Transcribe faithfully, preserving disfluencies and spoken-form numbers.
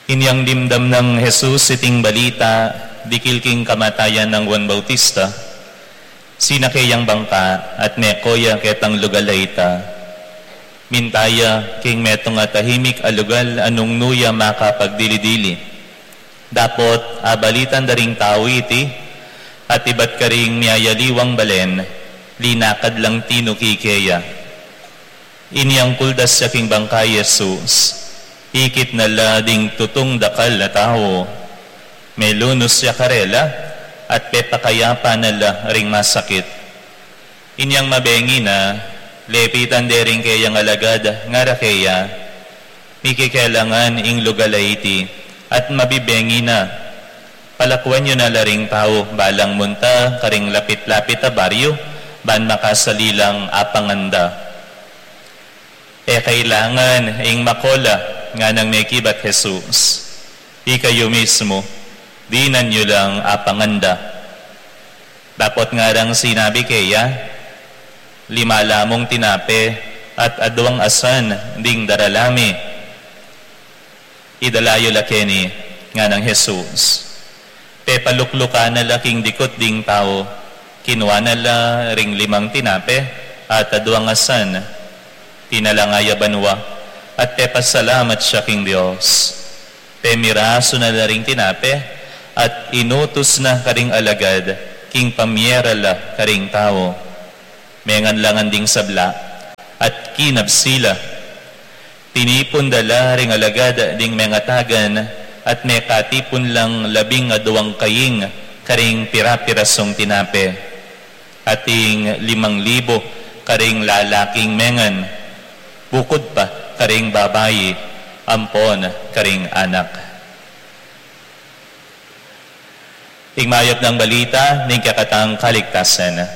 Inyang dimdam nang Jesus iting balita dikil king kamatayan nang Juan Bautista, sinake yang bangka at meko ya ketang lugal a ita. Minta ya king metung a tahimik a lugal a nung nu ya makapagdili-dili. Dapot abalitan da ring tau iti, at ibat karing miyayaliwang balen, linakad lang tinuki keya. Inyang kuldas ya king bangka i Jesus, ikit na la ding tutung dakal a tau. Melunus ya karela, at pepakayapan na la ring masakit. Inyang mabengi na, lepitan de ring keyang alagad, ngara keya, "Mikikelangan ing lugal a iti, at mabibengi na. Palakwan yu na la ring tau, balang munta karing lapit-lapit a baryu, ban makasali lang apangan da." "E kailangan ing mako la," nganang mekibat Jesus. "Ikayu mismu, dinan yu lang apangan da." Dapot ngarang sinabi keya, "Lima la mung tinape at adwang asan ding darala mi." "Idala yu la keni," nganang Jesus. Pepaluklukan na la king dikut ding tau, kinua na la ring limang tinape at adwang asan, tinalanga ya banua, at pepasalamat ya king Dios. Pemirasu na la ring tinape, at inutus na karing alagad king pamiera la karing tau. Mengan la ngan ding sabla, at kinabsi la. Tinipun da la ring alagad ding mengatagan, at mekatipun lang labing adwang kaing karing pira-pirasung tinape. Ating limang libu karing lalaking mengan, bukud pa karing babai ampon karing anak. Ing mayap nang balita ning kekatang kaligtasan.